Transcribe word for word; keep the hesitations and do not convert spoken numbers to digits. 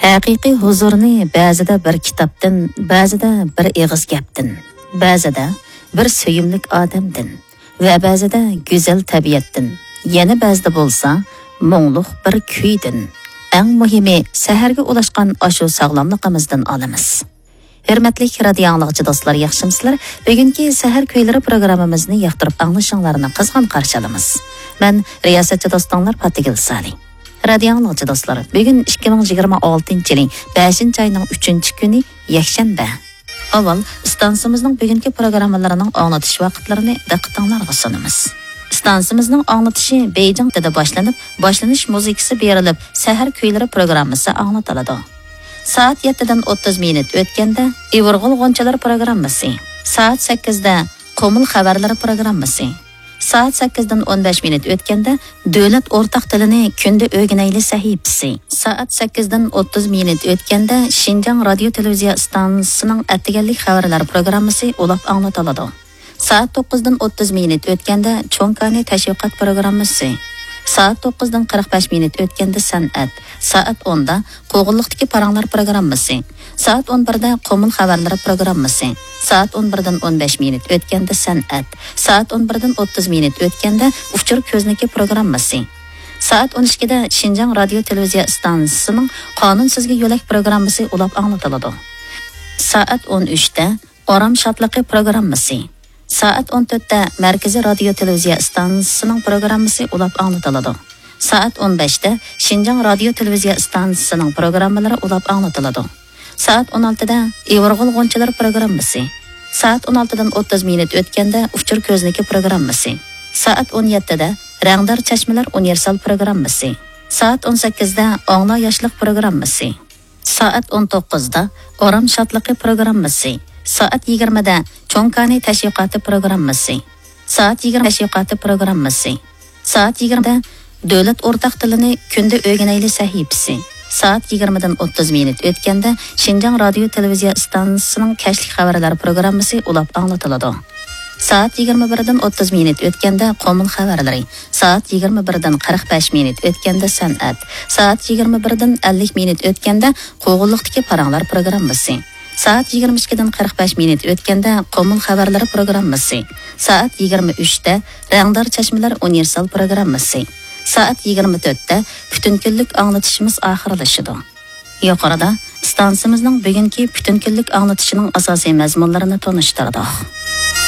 ھەقىقىي ھۇزۇرنى بەزىدە بىر كىتابتىن، بەزىدە بىر ئېغىز گەپتىن، بەزىدە بىر سۆيۈملۈك ئادەمدىن ۋە بەزىدە گۈزەل تەبىئەتتىن، يەنە بەزىدە بولسا مۇڭلۇق بىر كۈيدىن. ئەڭ مۇھىمى، سەھەرگە ئۇلاشقان ئاشۇ ساغلاملىقىمىزدىن ئالىمىز. ھۆرمەتلىك رادىيو ئاڭلىغۇچى دوستلار، ياخشىمۇسىلەر؟ بۈگۈنكى سەھەر كۈيلىرى پروگراممىمىزنى ياقتۇرۇپ ئاڭلىشىڭلارنى قىزغىن قارشى ئالىمىز. مەن رىياسەتچى دوستۇڭلار پاتىگۈل سالى. رادىيو ئاڭلىغۇچى دوستلار، بۈگۈن ئىككى مىڭ يىگىرمە ئالتىنچى يىلى بەشىنچى ئاينىڭ ئۈچىنچى كۈنى، يەكشەنبە. ئاۋۋال ئىستانسىمىزنىڭ بۈگۈنكى پروگراممىلىرىنىڭ ئاڭلىتىش ۋاقىتلىرىنى دىققىتىڭلارغا سۇنىمىز. ئىستانسىمىزنىڭ ئاڭلىتىشى بېيجىڭ تىلىدا باشلىنىپ، باشلىنىش مۇزىكىسى بېرىلىپ، سەھەر كۈيلىرى پروگراممىسى ئاڭلىتىلىدۇ. سائەت يەتتىدىن ئوتتۇز مىنۇت ئۆتكەندە ئىۋىرغۇل غۇنچىلىرى پروگراممىسى، سائەت سەككىزدە قۇمۇل خەۋەرلىرى پروگراممىسى، سائەت سەككىزدىن ئون بەش مىنۇت ئۆتكەندە دۆلەت ئورتاق تىلىنى كۈندە ئۆگىنەيلى سەھىپىسى، سائەت سەككىزدىن ئوتتۇز مىنۇت ئۆتكەندە شىنجاڭ رادىيو تېلېۋىزىيە ئىستانسىسىنىڭ ئەتىگەنلىك خەۋەرلەر پروگراممىسى ئۇلاپ ئاڭلىتىلىدۇ. سائەت توققۇزدىن ئوتتۇز مىنۇت ئۆتكەندە چوڭ كانى تەشۋىقات پروگراممىسى، سائەت توققۇزدىن قىرىق بەش مىنۇت ئۆتكەندە سەنئەت، سائەت ئوندا قوغۇنلۇقتىكى پاراڭلار پروگراممىسى، سائەت ئون بىردە قۇمۇل خەۋەرلىرى پروگراممىسى، سائەت ئون بىردىن ئون بەش مىنۇت ئۆتكەندە سەنئەت، سائەت ئون بىردىن ئوتتۇز مىنۇت ئۆتكەندە ئۇچۇر كۆزنىكى پروگراممىسى، سائەت ئون ئىككىدە شىنجاڭ رادىيو تېلېۋىزىيە ئىستانسىسىنىڭ قانۇن سىزگى يۆلەك پروگراممىسى ئۇلاپ ئاڭلىتىلىدۇ. سائەت ئون ئۈچتە ئارام شادلىقى پروگراممىسى، سائەت ئون تۆتتە مەركىزىي رادىيو تېلېۋىزىيە ئىستانسىسىنىڭ پروگراممىسى ئۇلاپ ئاڭلىتىلىدۇ. سائەت ئون بەشتە شىنجاڭ رادىيو تېلېۋىزىيە ئىستانسىسىنىڭ پروگراممىلىرى ئۇلاپ ئاڭلىتىلىدۇ. سائەت ئون ئالتىدە ئىۋىرغۇل غۇنچىلىرى پروگراممىسى، سائەت ئون ئالتىدىن ئوتتۇز مىنۇت ئۆتكەندە ئۇچۇر كۆزنىكى پروگراممىسى، سائەت ئون يەتتىدە رەڭدار چەشمىلەر ئۇنىۋېرسال پروگراممىسى، سائەت ئون سەككىزدە ئاڭلا ياشلىق پروگراممىسى، سائەت ئون توققۇزدا ئارام شادلىقى پروگراممىسى، سائەت يىگىرمىدە چوڭ كانى تەشۋىقاتى پروگراممىسى، سائەت يىگىرمە تەشۋىقاتى پروگراممىسى، سائەت يىگىرمىدە دۆلەت ئورتاق تىلىنى كۈندە ئۆگىنەيلى سەھىپىسى، سائەت يىگىرمىدىن ئوتتۇز مىنۇت ئۆتكەندە شىنجاڭ رادىيو تېلېۋىزىيە ئىستانسىسىنىڭ كەچلىك خەۋەرلەر پروگراممىسى ئۇلاپ ئاڭلىتىلىدۇ. سائەت يىگىرمە بىردىن ئوتتۇز مىنۇت ئۆتكەندە قومۇل خەۋەرلىرى، سائەت يىگىرمە بىردىن قىرىق بەش مىنۇت ئۆتكەندە سەنئەت، سائەت يىگىرمە بىردىن ئەللىك مىنۇت ئۆتكەندە قوغۇنلۇقتىكى پاراڭلار پروگراممىسى، سائەت يىگىرمە ئىككىدىن قىرىق بەش مىنۇت ئۆتكەندە قومۇل خەۋەرلىرى پروگراممىسى، سائەت يىگىرمە ئۈچتە رەڭدار چەشمىلەر ئۇنىۋېرسال پروگراممىسى، سائەت يىگىرمە تۆتتە پۈتۈن كۈنلۈك ئاڭلىتىشىمىز ئاخىرلىشىدۇ. يۇقىرىدا ئىستانسىمىزنىڭ بۈگۈنكى پۈتۈن كۈنلۈك ئاڭلىتىشىنىڭ ئاساسىي مەزمۇنلىرىنى تونۇشتۇردۇق.